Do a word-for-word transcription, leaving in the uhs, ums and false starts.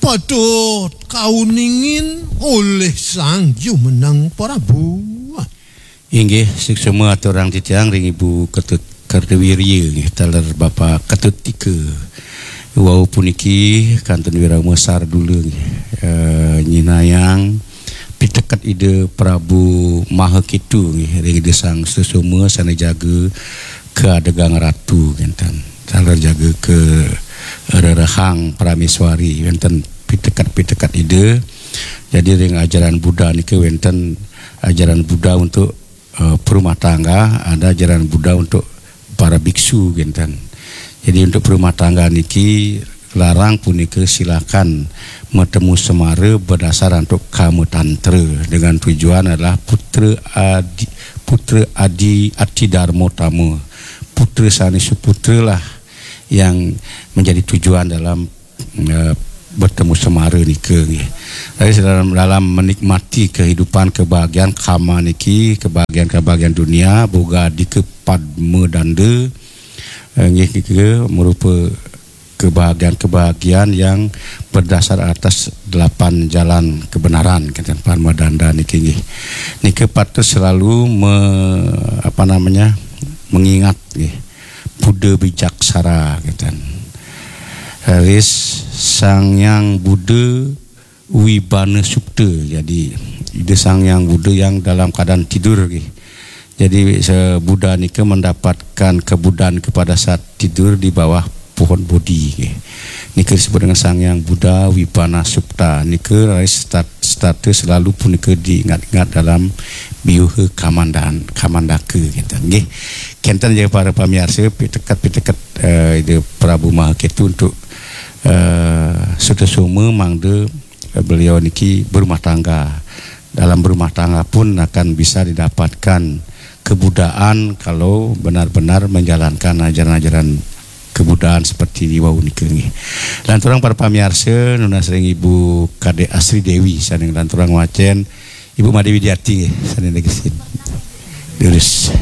Patut kauningin olih Sang Jumeneng Prabu. Inggih, suksma aturang titiang ring Ibu Ketut Kartawirya nggih, taler Bapa Ketut Tika. Wau puniki kantun wirama sardula nggih, eh, nyinahang piteket Ida Prabu Maha Ketu nggih, ring Ida Sang Sutasoma sane jaga kaadegang ratu kinten. Taler jaga karerehang prameswari, wenten piteket-piteket Ida. Jadi ring ajaran Buddha niki wenten ajaran Buddha untuk, eh, perumah tangga, ada ajaran Buddha untuk para biksu kinten. Jadi untuk perumah tangga niki larang punika silakan matemu semara berdasar untuk kama tantra dengan tujuan adalah putra adi, putra adi ati dharma tama, putra sane suputra lah yang menjadi tujuan dalam, eh, bertemu semara nika nggih. Jadi dalam, dalam menikmati kehidupan kebahagiaan kama niki, kebahagiaan-kebahagiaan dunia, boga adika padma danda, eh, nggih, nika merupa kebahagiaan-kebahagiaan yang berdasar atas delapan jalan kebenaran, kata padma danda niki nggih. Nika patut selalu me, apa namanya, mengingat nggih. Buddha bijaksara, kata. Raris Sang Yang Buddha Wibana Supta. Jadi Ida Sang Yang Buddha yang dalam keadaan tidur nggih. Jadi se-, Buddha nika mendapatkan kebuddhaan kepada saat tidur di bawah pohon bodhi nggih. Nika disebut dengan Sang Yang Buddha Wibana Supta. Nika raris stat-, setata selalu punika diingat-ingat dalam biuha kamandan, kamandaka kinten nggih. Kenten ja para pamiarsa, piteket-piteket, eh, Ida Prabu Maha Ketu untuk, eh, Sutasoma mangda, eh, beliau niki berumah tangga. Dalam berumah tangga pun akan bisa didapatkan kebuddhaan kalau benar-benar menjalankan ajaran-ajaran kebuddhaan seperti di wau nika nggih. Lanturang para pamiarsa, nunas ring Ibu Kadek Asri Dewi sane lanturang wacen, Ibu Made Widiati nggih, sane negesin. Lurus.